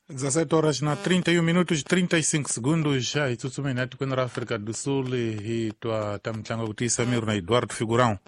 17 horas na 31 minutos 35 segundos. Hi tsutsumeni etikweni ra Afrika do Sul hi twa ta mitlangu ya ku tiyisa miri na Eduardo Figurão.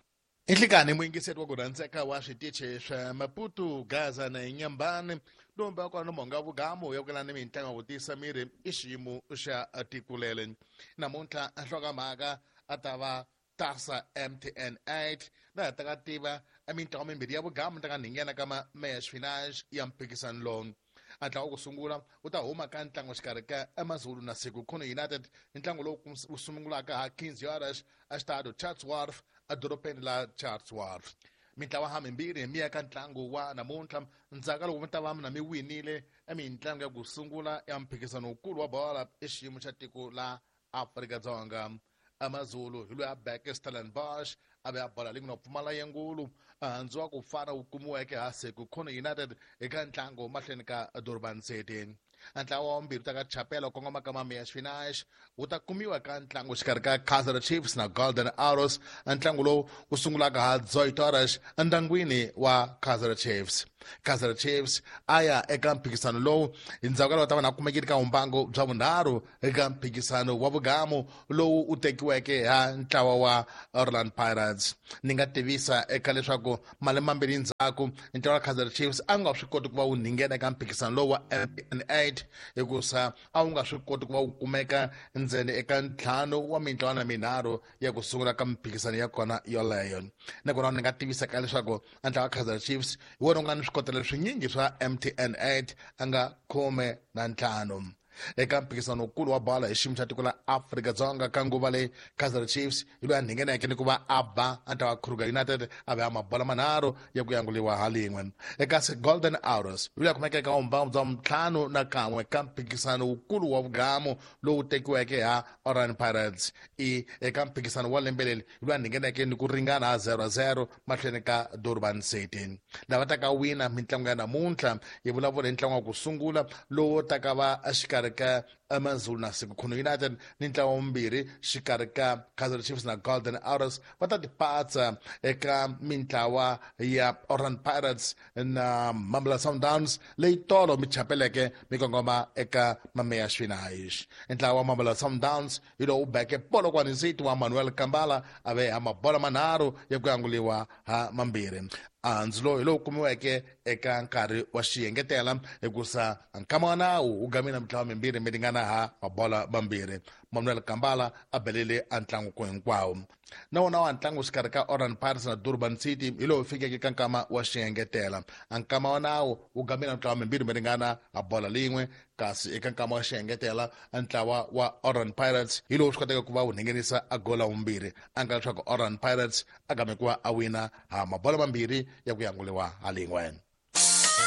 Inhlikani muyingiseri wa ku rhandzeka wa switichi swa Maputo, Gaza na Inyambani, lomba kona monga vugamu ya ku ni mitlangu ya ku tiyisa miri i xiyimo xa tikulele. Namuntlha nhlokomhaka a ta va tasa MTN 8 laha ta ka tiva mitlangu mimbirhi ya vugamu ta ka nghena ka match finals ya mphikizano lowu. A ntlangu wa ku sungula wu ta huma ka ntlangu xikarhi ka Amazulu na Sekhukhune United, ntlangu lowu wu sungulaka ha 15 horas exitado Chatsworth edorobeni la Chatsworth. Mintlawa ha mimbirhi mi ya ka ntlangu wa namuntlha ndzhaku ka loko mi ta va na mi winile mitlangu ya ku sungula ya mphikizano wukulu wa bola i xiyimo xa tiko la Afrika-Dzonga. Amazulu hi loyi a beke Stellenbosch a ve a bola leyi nga pfumala yengulu handzu wa ku fana wu kumiweke ha Sekhukhune United eka ntlangu mahlweni ka Durban City. Ntlawa wa vumbirhi ta ka chapela kongoma ka Mamiya Spinach wu ta kumiwa ka ntlangu xikarhi ka Kaizer Chiefs na Golden Arrows, ntlangu lowu wu sungulaka ha Zoitoras endyangwini wa Kaizer Chiefs. Kaizer Chiefs a ya eka mphikizano lowu hi ndzhaku ka loko ta va na kumekile ka vumbangu bya vunharhu eka mphikizano wa vugamu lowu wu tekiweke ha ntlawa wa Orlando Pirates. Ni nga tivisa eka leswaku malembe mambirhi ndzhaku ntlawa wa Kaizer Chiefs a nga swi koti ku va wu nghena eka mphikizano lowu wa MTN 8 hikusa a wu nga swi koti ku va wu kumeka ndzeni eka ntlhanu wa mintlawa na minharhu ya ku sungula ka mphikizano ya kona yoleyo. Nakona ni nga tivisa ka leswaku ntlawa wa Kaizer Chiefs hi wona wu nga ni swikotelo swinyingi swa MTN 8 a nga 15. Eka mphikizano wukulu wa bola hi xiyimo xa tiko la Afrika-Dzonga ka nguva leyi, Kaizer Chiefs hi loyi a ngheneke ni ku va a ba ntlawa wa Kruger United a ve a mabola manharhu ya ku yanguliwa ha lin'we. Kasi Golden Arrows hi loyi a kumeka eka vumbangu bya 51 ka mphikizano wukulu wa vugamu lowu tekiweke ha Orlando Pirates. I eka mphikizano wa lembe leri hi loyi a ngheneke ni ku ringana ha 0-0 mahlweni ka Durban City. Lava taka wina mitlangu ya namuntlha hi vulavula hi ntlangu wa ku sungula lowu taka va exikarhi ka Amazulu na Sekhukhune United ni ntlawa wumbirhi xikarhi ka Kaizer Chiefs na Golden Arrows va ta tipatsa eka mintlawa ya Orlando Pirates na Mamelodi Sundowns leyi tolo mi chapeleke mi kongoma eka Mameya Swinaish. Ntlawa wa Mamelodi Sundowns hi lowu beke Polokwane City wa Manuel Kambala a ve ha mabola manharhu ya ku yanguliwa ha mambirhi. Andzu lowu hi lowu kumiweke eka nkarhi wa xiyengetela hikusa nkama wa nawu wu gamile mitlawa mimbirhi mi ringana ha mabola mambirhi. Manuel Kambala a belele a ntlangu ku hinkwawo. Na wona wa ntlangu xikarhi ka Orlando Pirates na Durban City hi lowu fikeke ka nkama wa xiengetela. A nkama wa nawu wu gamile mitlawa mimbirhi mi ringana ha bola lin'we, kasi eka nkama wa xiengetela ntlawa wa Orlando Pirates hi lowu swi koteke ku va wu nghenisa a gola wumbirhi, a nga leswaku Orlando Pirates a game ku va a wina ha mabola mambirhi ya ku yanguliwa ha lin'we.